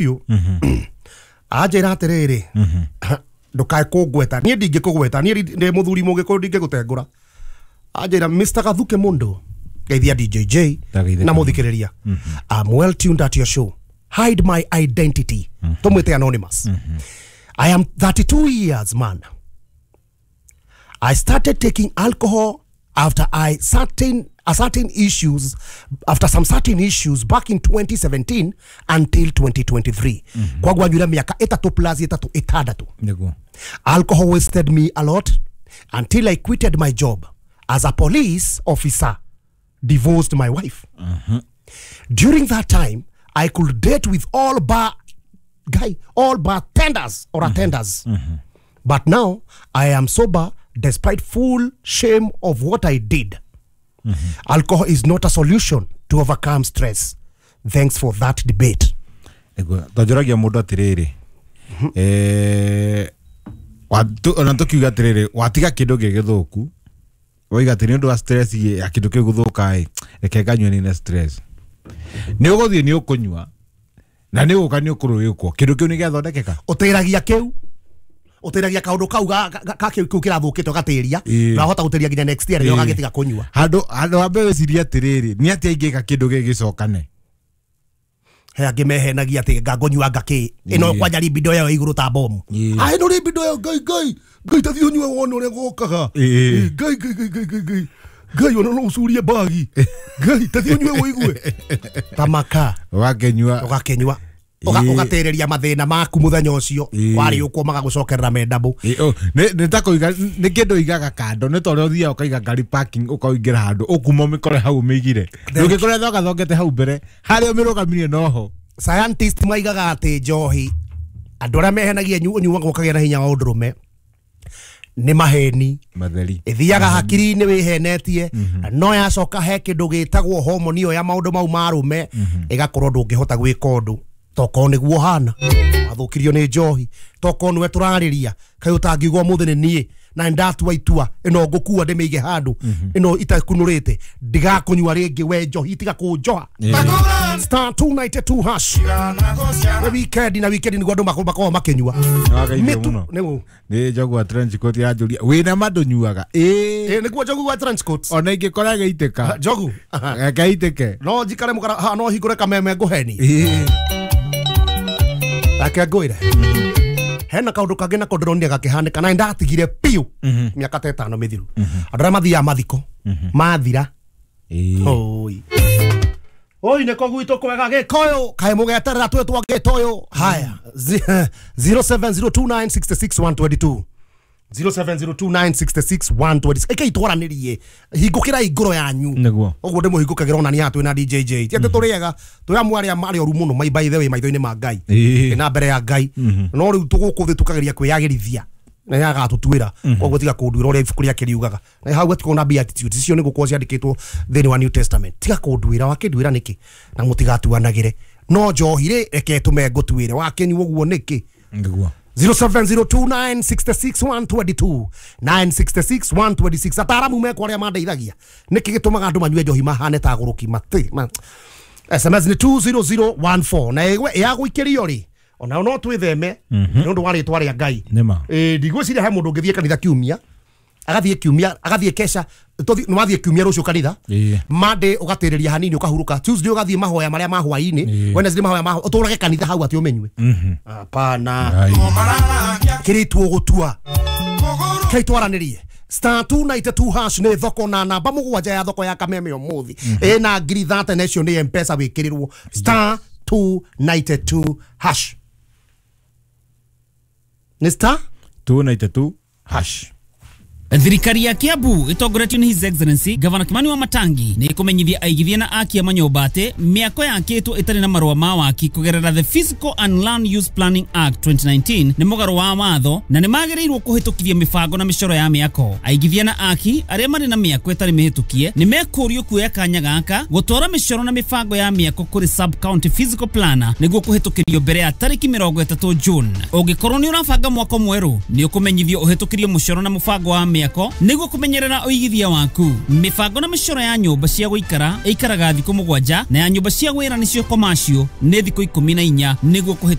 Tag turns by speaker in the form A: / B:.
A: Biũ. Anjĩra atĩrĩrĩ, ndũkae kũngweta, niĩ ndingĩkũgweta, niĩ ndĩ mũthuri mũgĩkũyũ, ndingĩgũtengũra. Anjĩra, "Mr. Gathuke Mundu, geithia DJJ
B: Ndageithĩka.
A: na mũthikĩrĩria. I'm well tuned at your show. Hide my identity, tũmwĩte anonymous. I am 32 years man. I started taking alcohol after I certain a certain issues after some certain issues back in 2017 until 2023. Kwagua nyura miaka 3 plus 3 6.
B: Nĩguo.
A: Alcohol wasted me a lot until I quitted my job as a police officer, divorced my wife. During that time, I could date with all bar guy, all bartenders or attenders. But now I am sober despite full shame of what I did. Alcohol is not a solution to overcome stress. Thanks for that debate."
B: Nĩguo twanjũragia mũndũ atĩrĩrĩ, ona tũkiuga atĩrĩrĩ, watiga kĩndũ gĩgĩthũku, waiga atĩ nĩ ũndũ wa stress ya kĩndũ kĩu gũthũka ĩ, reke nganyue nine stress. Nĩ ũgũthiĩ, nĩ ũkũnyua na nĩ ũgũka, nĩ ũkũrũĩkwo, kĩndũ kĩu nĩ gĩathondekeka.
A: Ũtĩragia kĩu, ũtĩragia kaũndũ kau ga kĩu kĩrathũkĩte, ũgatĩria na wahota gũtĩria nginya next year rĩrĩa ũgagĩtiga kũnyua.
B: Handũ wambe wĩcirie atĩrĩrĩ, nĩ atĩa ingĩka kĩndũ gĩgĩcokane.
A: He angĩ mehenagia atĩ ngangũnyua ngakĩ ĩno kwanja libido yayo igũrũ ta bomu. Ah, ĩno libido yayo, Ngai, Ngai, Ngai, tathiĩ ũnyue wone ũrĩa gokaga. Ngai, Ngai, Ngai, Ngai, Ngai, Ngai, Ngai, ona no ũcurie mbagi. Ngai, tathiĩ ũnyue ũigue tamaka.
B: Ũgakĩnyua.
A: Ũgakĩnyua. Ũgatĩrĩria mathĩna maku mũthenya ũcio. Warĩ ũkwo magagũcokerera mendabũ.
B: Ĩ, oh, nĩ ta kũiga, nĩ kĩndũ ũigaga kando, nĩ ta ũrĩa ũthiaga ũkaiga ngari parking, ũkaingĩra handũ ũkuma ũmĩkore hau ũmĩigire, ndũngĩkora thogathongete hau mbere harĩa ũmĩrũgamirie noho.
A: Scientist maigaga atĩ njohi, andũ arĩa mehenagia ũnyuaga ũkagĩa na hinya wa ũndũrũme, nĩ maheni.
B: Matheri.
A: Ĩthiaga hakiri-inĩ wĩhenetie, no yacoka he kĩndũ gĩtagwo homoni ĩyo ya maũndũ mau ma arũme, ĩgakorwo ndũngĩhota gwĩka ũndũ tokorwo nĩguo hana wathũkirio nĩ njohi, tokorwo nĩwe tũrarĩria. Kaĩ ũtangiuga ũmũthĩ nĩ niĩ na nĩndatua itua, ĩno ngũkua ndĩmĩige handũ, ĩno itakunũrĩte, ndigakũnyua rĩngĩ, we njohi tiga kũnjoha. *292#. Nĩ weekend, na weekend nĩguo andũ makoragwo makĩnyua.
B: Nĩwagaithio
A: Mĩtu-
B: mũno.
A: Nĩguo.
B: Nĩ njogu wa trench coat yanjũria wĩna ma ndũnyuaga ĩĩ.
A: Ĩ, nĩguo njogu wa trench coat.
B: Ona ingĩkora gĩitĩka.
A: Njogu.
B: Gaitĩke.
A: No njikare mũkara ha, no hingũre kameme ngũheni. Reke ngwĩre, hena kaũndũ kangĩ nako ndĩronire gakĩhanĩka na nĩndatigire biũ mĩaka ta 5 mĩthiru. Andũ arĩa mathiaga mathiko mathira, oi oi, nĩko gwitũ kwega gĩkũyũ, kaĩ mũgeterera twĩtwo gĩtũyũ. Haya, 0702966122, 0702966126, ĩkei twaranĩrie, hingũkĩrai ngoro yanyu.
B: Nĩguo.
A: Ũguo ndĩmũhingũkagĩra ona nĩ twĩna DJJ, ti atĩ tũrĩega, twĩ amwe arĩa marĩ oru mũno by the way maitho-inĩ ma Ngai na mbere ya Ngai, no rĩu tũgũkũ thĩ tũkageria kwĩyagĩrithia na nĩ agatũtuĩra. Koguo tiga kũnduĩra ũrĩa ibuku rĩake riugaga, na hau gatikorwo na beatitudes icio nĩ gũkorwo ciandĩkĩtwo thĩinĩ wa New Testament. Tiga kũnduĩra, wakĩnduĩra nĩkĩ? Na mũtigatuanagĩre. No njohi rĩ, reke tũme ngũtuĩre, wakĩnyua ũguo nĩkĩ?
B: Nĩguo.
A: 0702966122, 966126. Ataramu mekwo arĩa mandeithagia, nĩkĩ gĩtũmaga andũ manyue njohi mahane ta agũrũki mati ma. SMS nĩ 20014 na ĩgwe yagũikĩrio rĩ, ona no twĩtheme nĩ ũndũ wa rĩtwa rĩa Ngai.
B: Nĩma.
A: Ĩ, ndigwĩciria he mũndũ ũngĩthiĩ kanitha kiumia, agathiĩ kiumia, agathiĩ kesha, nĩ wathiĩ kiumia, rũciũ kanitha, Monday ũgatĩrĩria hanini, ũkahurũka, Tuesday ũgathiĩ mahoya marĩa ma hwaĩ-inĩ, Wednesday mahoya ma ũtũrage kanitha hau atĩ ũmenyue. Hapana.
B: Ai.
A: Kĩrĩ tuũgũtua kei twaranĩrie. *292# nĩ thoko na namba 7 ya thoko ya Kameme ũmũthĩ ĩna ngiri 30, na icio nĩ Mpesa wĩkĩrĩrwo. *292# nĩ star
B: 292#.
C: Thirikari ya Kiambu ĩtongoretio nĩ His Excellency Gavana Kimani wa Matangi nĩ ĩkũmenyithia aigithia na aki a manyũmba atĩ mĩako yakĩtwo ĩtarĩ na marũa ma waki kũgerera the Physical and Land Use Planning Act 2019 nĩ mũgarũ wa watho na nĩ magĩrĩirwo kũhĩtũkithia mĩbango na mĩcoro ya mĩako. Aigithia na aki arĩa marĩ na mĩako ĩtarĩ mĩhĩtũkie nĩ mekũrio kuoya kanya gaka gũtwara mĩcoro na mĩbango ya mĩako kũrĩ sub county physical planner nĩguo kũhĩtũkĩrio mbere ya tarĩki 30 June. Ũngĩkorwo nĩ ũrabanga mwako mwerũ, nĩ ũkũmenyithio ũhĩtũkĩrie mũcoro na mũbango wa mĩako. mĩako nĩguo kũmenyerera ũigithia waku. Mĩbango na mĩcoro ya nyũmba cia gũikara ĩikaraga thikũ 7 na ya nyũmba cia wĩra nĩcio commercial nĩ thikũ 14 nĩguo kũhĩtũka.